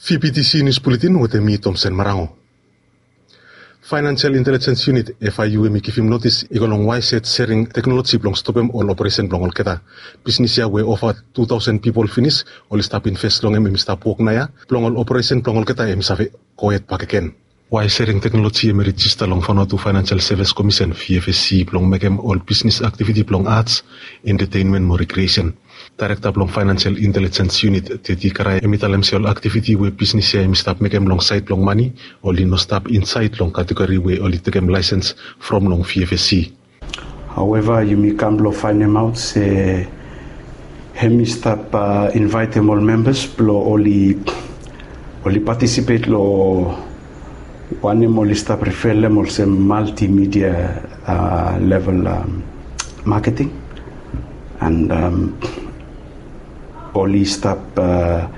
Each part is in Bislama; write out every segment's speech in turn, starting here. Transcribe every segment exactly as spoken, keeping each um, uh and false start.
V B T C News Bulletin wetem mi, Tomsen Marango. Financial Intelligence Unit, F I U, hemi givim notis i go long Wise Sering teknoloji blong stopem ol operesen blong olgeta. Bisnis ya we ova tu taosen pipol finis oli stap invest long hem, hemi stap wok naoia blong ol operesen blong olgeta hemi save gohed bakegen. Wise Sering teknoloji hemi rejista long Vanuatu Financial Service Commission, V F S C, blong mekem ol bisnis aktiviti blong arts, entertainment mo recreation. Daerekta blong Financial Intelligence Unit, Teti Karai, hemi talem se ol aktiviti we bisnis ya hemi stap mekem long saed blong mane oli no stap insaed long kategori we oli tekem laesens from long V F S C. However, yumi kam blong faenemaot se hemi stap, ah, invaetem ol membas blong oli, oli patisipet long wanem oli stap rifelem olsem multimedia, ah, level, ah, marketing. And, ah, oli stap, ah,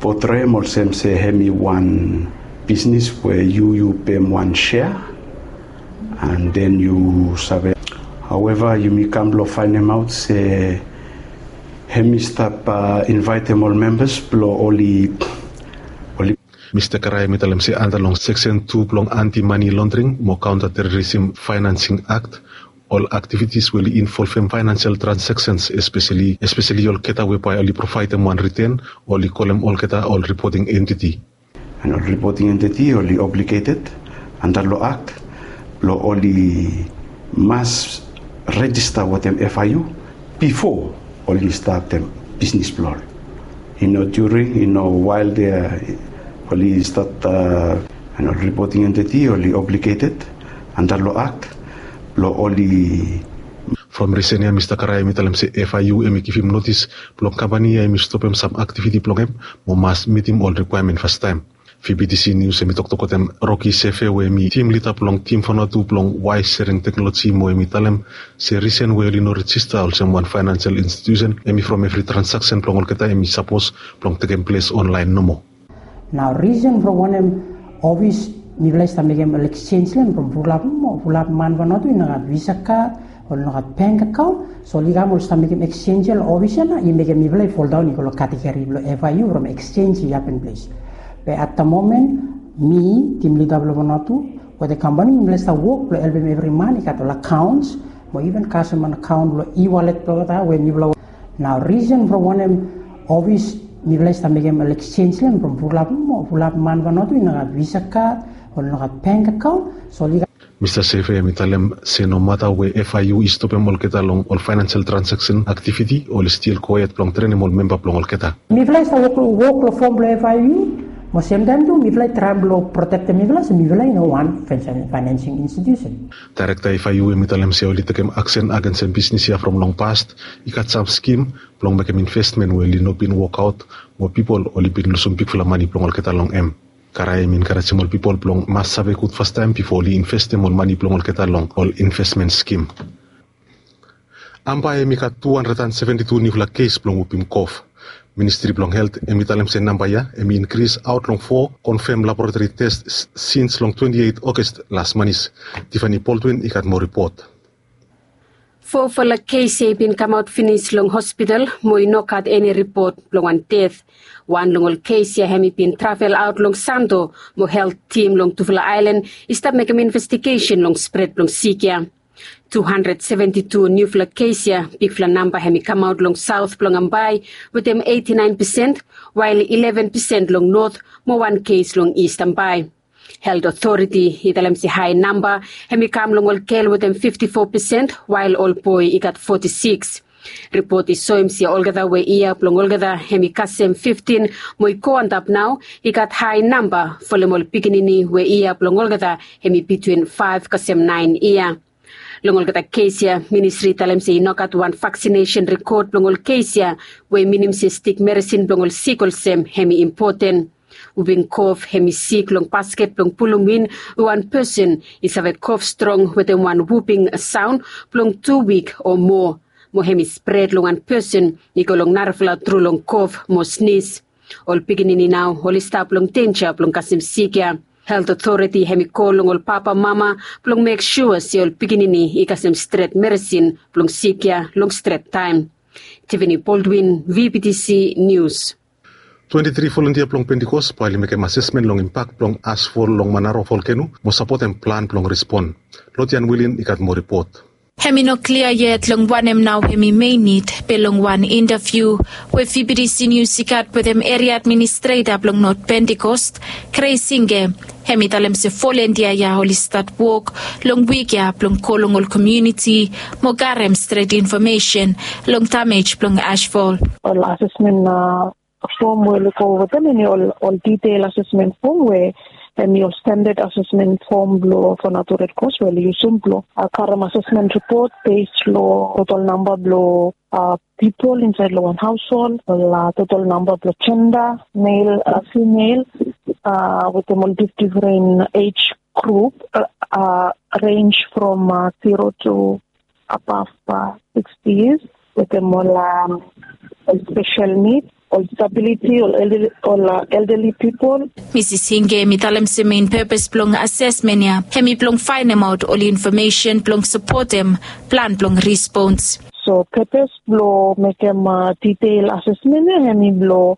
potrem olsem se hemi wan bisnis we yu, yu pem wan sea, and then yu save. However, yumi kam blong faenemaot se hemi stap, ah, invaetem ol membas blong oli, oli. Mista Karai hemi talem se anda long seksen tu blong Anti-Money Laundering mo Counter-Terrorism Financing Act, ol aktivitis we oli involvem financial transactions, espeseli, espeseli olgeta we bae oli provaedem wan riten, oli kolem olgeta ol reporting entity. And ol reporting entity oli obligated anda long Act blong oli mas rejista wetem F I U bifo oli statem bisnis blong oli. I no during, i no while they are, oli stat, ah, and ol reporting entity oli obligated anda long Act blong oli. From risen ya, Mista Karai hemi talem se F I U hemi givim notis blong kampani ya hemi stopem sam aktiviti blong hem mo mas mitim ol rikwaemen fastaem. V B T C News hemi toktok wetem Rocky Sefe we hemi tim lida blong tim Vanuatu blong Wise Sering teknoloji mo hemi talem se risen we oli no rejista olsem wan financial institution hemi from evri transaksen blong olgeta hemi sapos blong tekem ples onlaen nomo. Nao risen from wanem, ofis mifala i stap mekem ol exchange long hem from fulap, fulap man Vanuatu i no gat Visa card, oli no gat bank account. So oli kam oli stap mekem exchange ya long ofis ya, nao i mekem mifala i foldaon i go long kategori blong F I U from exchange i hapen ples. Be at the moment, mi, tim lida blong Vanuatu wetem kampani, mifala i stap wok blong helpem evri man i gat ol accounts mo even kasem wan account long e-wallet blong olgeta we mifala. Nao risen from wanem, ofis mifala i stap mekem ol exchange long hem from fulap, fulap man Vanuatu i no gat Visa card, oli no gat bank account. So oli gat. Mista Sefe hemi talem se nomata we F I U i stopem olgeta long ol financial transaction aktiviti, oli stil gohed blong trenem ol memba blong olgeta. Mifala i stap wok, wok long fom blong F I U, mo semtaem tu mifala i traem blong protektem mifala se mifala i no wan financial, financing institution. Daerekta F I U hemi talem se oli tekem aksen agensem bisnis ya from long past, i gat sam skim blong mekem investmen we oli no bin wokaot, mo pipol oli bin lusum bigfala mane blong olgeta long hem. Karai hemi enkarejem ol pipol blong mas save gud fastaem bifo oli investem ol mane blong olgeta long ol investmen skim. Ambae hemi gat tu handred and seventi tu niufala kes blong wopim kof. Ministri blong Helt hemi talem se namba ya hemi inkris aot long fo konfam laboratori tes s-, sins long twenti eit August las manis. Tiffany Baldwin i gat moa ripot. Fofala kes ya i bin kamaot finis long hospital mo i no gat eni ripot blong wan det. Wan long ol kes ya hemi bin travel aot long Santo, mo helt tim long tufala aelan i stap mekem investigesen long spred blong sik ya. Tu handred seventi tu niufala kes ya, bigfala namba hemi kamaot long saot blong Ambae wetem eiti naen pesen, wael ileven pesen long not mo wan kes long Ist Ambae. Helt Otoriti i talem se hae namba hemi kam long ol gel wetem fifti fo pesen, wael ol boe i gat foti sikis. Ripot i soem se olgeta we yia blong olgeta hemi kasem fiftin mo i go antap nao, i gat hae namba folem ol pikinini we yia blong olgeta hemi bitwin faef kasem naen yia. Long olgeta kes ya, ministri i talem se i no gat wan vaksinesen rekod blong ol kes ya, we i minim se stik meresin blong ol sik olsem hemi impoten. Wuping kof hemi sik long basket blong pulum win we wan pesen i save kof strong wetem wan wuping saon blong tu wik o moa. Mo hemi spred long wan pesen i go long narafala tru long kof mo snis. Ol pikinini nao oli stap long denja blong kasem sik ya. Helt Otoriti hemi kol long ol papa mama blong mek sua se ol pikinini i kasem stret meresin blong sik ya long stret taem. Tiffany Baldwin, V B T C News. Twenti tri volontia blong Pentikos bae oli mekem asesmen long impak blong asfol long Manaro volkeno mo sapotem plan blong respon. Lotian Wilin i gat moa ripot. Hem i no klia yet long wanem nao hem i mein nid, be long wan intaviu we V B T C News i gat wetem eria administreta blong Not Pentikos, Grace Hinge, hem i talem se volontia ya oli stat wok long wik ya blong go long ol komuniti mo karem stret infomesen long damej blong asfol. Ol asesmen fom we oli go wetem hem i ol detail asesmen fom we hem i ol standad asesmen fom blong Vanuatu Red Cross we oli yusum blong karem asesmen ripot bes long total namba blong pipol insaed long wan haoshol, ol total namba blong jenda, mel, fimel, wetem ol difdifren ej grup, renj from zero to above sixty years, wetem ol spesel nid, ol disabiliti, ol elderli pipol. Misis Hinge hem i talem se mein pepes blong asesmen ya hem i blong faenemaot ol infomesen blong sapotem plan blong respons. So pepes blong mekem detail asesmen ya hem i blong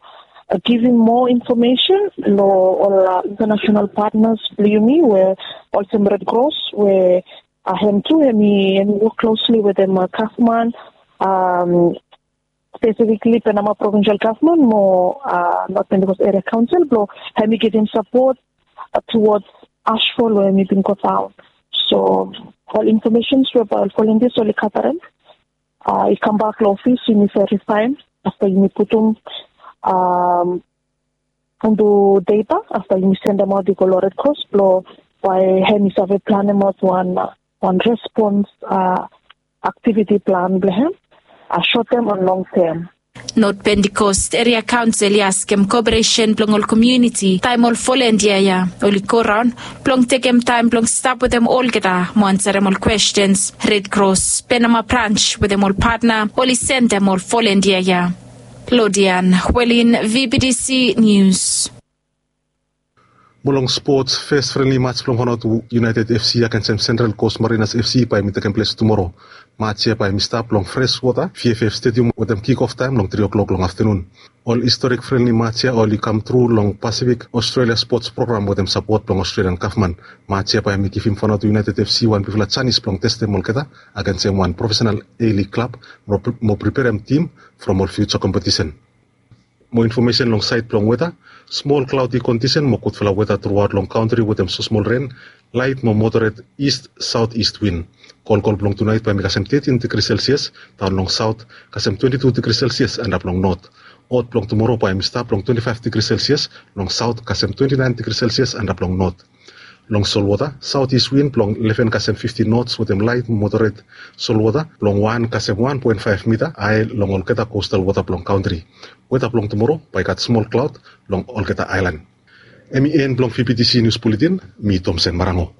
givim moa infomesen long ol intanasenal patnas blong yumi we olsem Red Cross we hem tu hem i wok klosli wetem gavman, spesifikli Penama Provinsel Gavman mo Not Pentikos Eria Kaonsel blong hem i givim sapot tuwods asfol we hem i bin go daon. So ol infomesens we bae ol volontias oli gatarem i kambak long ofis, yumi verifaem afta yumi putum onto data, afta yumi sendemaot i go long Red Cross blong bae hem i save planemaot wan respons aktiviti plan blong hem, short term and long term. Not Pentikos Eria Kaonsel i askem koperesen blong ol komuniti taem ol volontia ya oli go raon blong tekem taem blong stap wetem olgeta mo ansarem ol kwestens. Red Cross Penama Brans wetem ol patna oli sendem ol volontia ya. Lodian Welin, V B T C News. Mo long spots, fes frenli mats blong Vanuatu United F C agensem Central Coast Marinas F C bae yumi tekem ples tumoro. Mats ya bae yumi stap long Freshwater V F F Stadium wetem kikof taem long tri o'clock long aftenun. Ol historik frenli mats ya oli kamtru long Pasifik Australia Spots Program wetem sapot blong Australian gavman. Mats ya bae yumi givim Vanuatu United F C wan bigfala janis blong testem olgeta agensem wan profesenal A-League klab mo priperem tim from ol fiuja kompetisen. Mo infomesen long saed blong weta. Smol klaodi kondisen mo gudfala weta truaot long kantri wetem smosmol ren, laet mo moderet ist saot ist win. Kolkol blong tunaet bae hemi kasem tetin digri selsias, daon long saot kasem twenti tu digri selsias antap long not. Ot blong tumoro bae hemi stap long twenti faef digri selsias, long saot kasem twenti naen digri selsias antap long not. Long solwota, saot ist win blong leven kasem fifti nots wetem laet mo moderet solwota blong wan kasem wan poen faef mita ae long olgeta kostal wota blong kantri. Weta blong tumoro bae i gat smol klaod long olgeta aelan. Hemi en blong V B T C Nius Buletin. Mi Tomsen Marango.